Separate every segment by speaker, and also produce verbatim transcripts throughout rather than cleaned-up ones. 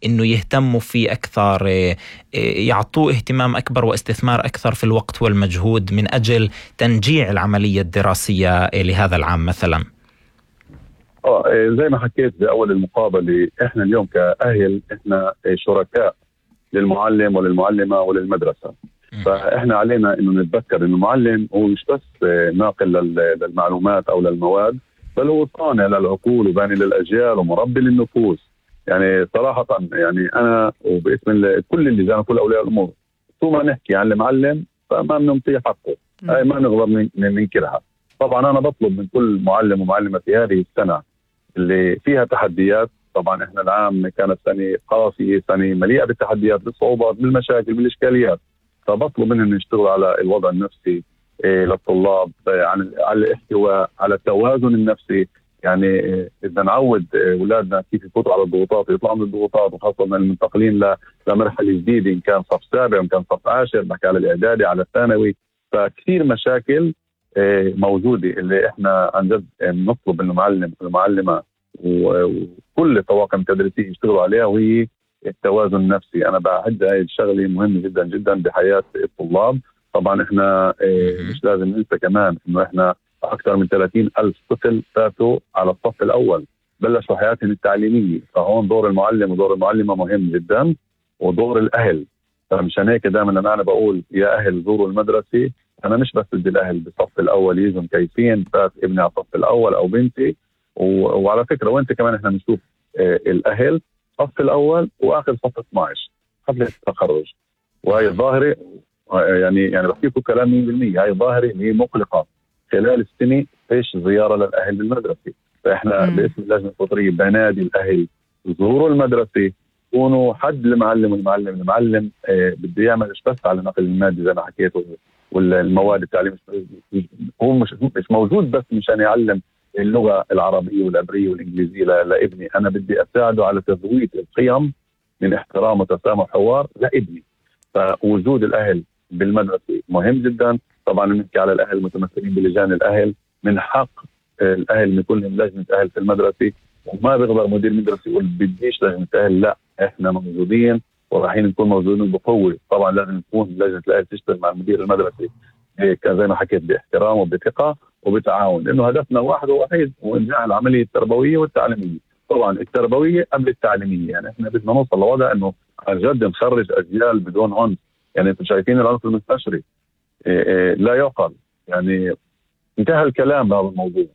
Speaker 1: إنه يهتموا فيه أكثر، يعطوه اهتمام أكبر واستثمار أكثر في الوقت والمجهود من أجل تنجيع العملية الدراسية لهذا العام مثلا؟
Speaker 2: اه زي ما حكيت بأول المقابلة، احنا اليوم كأهل احنا شركاء للمعلم وللمعلمة وللمدرسة. فاحنا علينا انه نتذكر انه المعلم هو مش بس ناقل للمعلومات او للمواد، بل هو صانع للعقول وباني للاجيال ومربي للنفوس. يعني صراحة يعني انا وباسم كل اللجان وكل اولياء الامور، طول ما نحكي عن المعلم فما بنعطيه حقه، هاي ما نقدر ننكرها. طبعا انا بطلب من كل معلم ومعلمة في هذه السنة اللي فيها تحديات، طبعا احنا العام كانت سنة قاسية، سنة مليئة بالتحديات بالصعوبات بالمشاكل بالاشكاليات، فبطلب منهم يشتغلوا على الوضع النفسي إيه للطلاب، على على الاحتواء، على التوازن النفسي. يعني إيه بدنا نعود اولادنا كيف يفوتوا على الضغوطات ويطلعوا من الضغوطات، وخاصة المنتقلين لمرحلة جديدة إن كان صف سابع وإن كان صف عاشر، بحكي على الإعدادي على الثانوي. فكثير مشاكل إيه موجودة اللي احنا عن جد نطلب من المعلم والمعلمة وكل الطواقم التدريسية يشتغلوا عليها، وهي التوازن النفسي. أنا بعد هاي الشغلة مهمة جدا جدا بحياة الطلاب. طبعا احنا اه مش لازم ننسى كمان انه احنا اكثر من ثلاثين ألف طفل فاتوا على الصف الاول بلشوا حياتهم التعليمية، فهون دور المعلم ودور المعلمة مهم جدا، ودور الاهل. فمشان هيك دائما لما انا بقول يا اهل زوروا المدرسة، انا مش بس بدي الاهل بالصف الاول يجوا مكيفين فات ابني على الصف الاول او بنتي. وعلى فكرة وانت كمان احنا بنشوف اه الاهل صف الاول واخر صف اثني عشر حفلة التخرج، وهي الظاهرة يعني يعني بحكي لكم كلام مية بالمية، هاي ظاهرة هي مقلقة. خلال السنة فيش زيارة للأهل بالمدرسة، فإحنا باسم اللجنة الفطرية بنادي الأهل زوروا المدرسة، كونوا حد المعلم والمعلم المعلم آه بده يعمل مش بس على نقل المادي زي ما حكيت والمواد التعليم، هو مش مش موجود بس مشان يعلم اللغة العربية والعبرية والإنجليزية لابني، أنا بدي أساعده على تزويد القيم من احترام وتسامح وحوار لابني. فوجود الأهل بالمدرسة مهم جدا. طبعا بنحكي على الأهل المتمثلين بلجان الأهل، من حق الأهل ان يكون لهم لجنة أهل في المدرسة، وما بيقدر مدير مدرسة يقول بديش لجنة أهل، لا احنا موجودين ورايحين نكون موجودين بقوة. طبعا لازم تكون لجنة الأهل تشتغل مع مدير المدرسة هيك زي ما حكيت باحترام وبثقة وبتعاون، لأنه هدفنا واحد ووحيد هو إنجاح العملية التربوية والتعليمية. طبعا التربوية قبل التعليمية، يعني احنا بدنا نوصل لوضع انه عن جد نخرج أجيال بدون عنف. يعني انتم شايفين العنف المستشري إيه إيه لا يعقل، يعني انتهى الكلام بهذا الموضوع.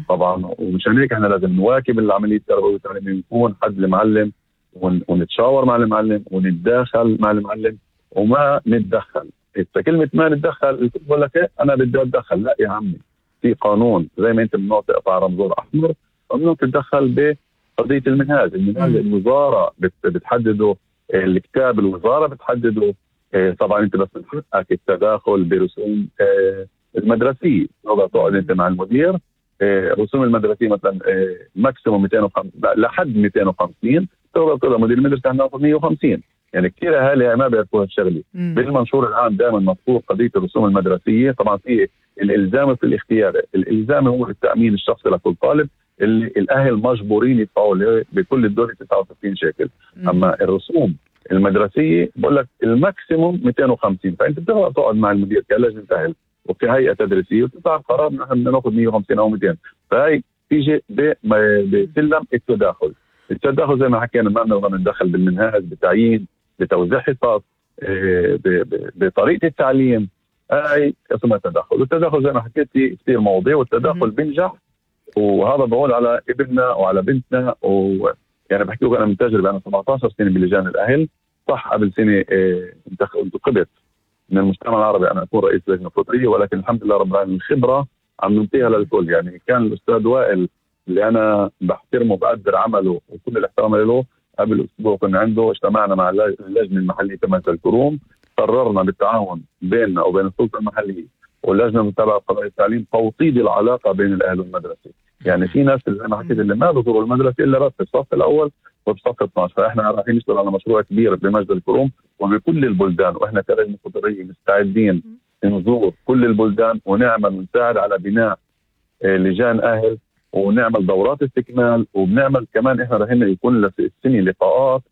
Speaker 2: طبعا ومشان هيك احنا لازم نواكب العمليه التربويه والتعليميه، نكون حد المعلم ونتشاور مع المعلم ونتداخل مع المعلم وما نتدخل. كلمه ما نتدخل بقول لك ايه انا بدي اتدخل، لا يا عمي، في قانون زي ما انت ممنوع تقطع رمزور احمر ممنوع تتدخل بقضيه المنهاج. المنهاج الوزاره بتحدده، الكتاب الوزاره بتحدده. طبعا انت بس من حقك التداخل برسوم المدرسيه، تقدر تقعد انت مع المدير. رسوم المدرسيه مثلا ماكسيموم مئتين وخمسين لحد مئتين وخمسين، تقدر تقول مدير المدرسه عندنا مئة وخمسين. يعني كثير اهالي ما بيعرفوا هالشغله. بالمنشور العام دائما مذكور قضيه الرسوم المدرسيه. طبعا في الالزام في الاختيار، الالزام هو التامين الشخصي لكل طالب اللي الاهل مجبورين يدفعوا بكل الدور تسعة وستين شيكل. اما الرسوم المدرسيه بقول لك الماكسيموم مئتين وخمسين، فانت بتقدر تقعد مع المدير كلجنه اهل وفي هيئه تدريسيه وتطلع قرار نحن بدنا ناخذ مئة وخمسين او مئتين. فهي تيجي بسلم التداخل. التداخل زي ما حكينا ما بنقدر ندخل بالمنهاج، بتعيين، بتوزيع حصص، بطريقه التعليم، هاي اسمها التداخل. والتداخل زي ما حكيت كثير مواضيع، والتداخل بينجح، وهذا بقول على ابننا وعلى بنتنا. و يعني بحكي لك انا من تجربه، انا سبعة عشر سنه بلجان الاهل. صح قبل سنه انتخبت من المجتمع العربي انا اكون رئيس لجنه فطريه، ولكن الحمد لله رب العالمين الخبره عم ننطيها للكل. يعني كان الاستاذ وائل اللي انا بحترمه وبقدر عمله وكل الاحترام له، قبل اسبوع كنا عنده اجتمعنا مع اللجنه المحليه تبع الكروم، قررنا بالتعاون بيننا وبين السلطه المحليه واللجنه المتابعه لقضايا التعليم توطيد العلاقه بين الاهل والمدرسه. يعني في ناس اللي زي ما حكيت اللي ما بيزوروا المدرسه الا بس في الصف الاول وبصف اثني عشر، فاحنا رايحين نشتغل على مشروع كبير بمجد الكروم وبكل البلدان، واحنا كلجنه فطريه مستعدين نزور كل البلدان ونعمل ونساعد على بناء لجان اهل ونعمل دورات استكمال، وبنعمل كمان احنا رايحين يكون السنه لقاءات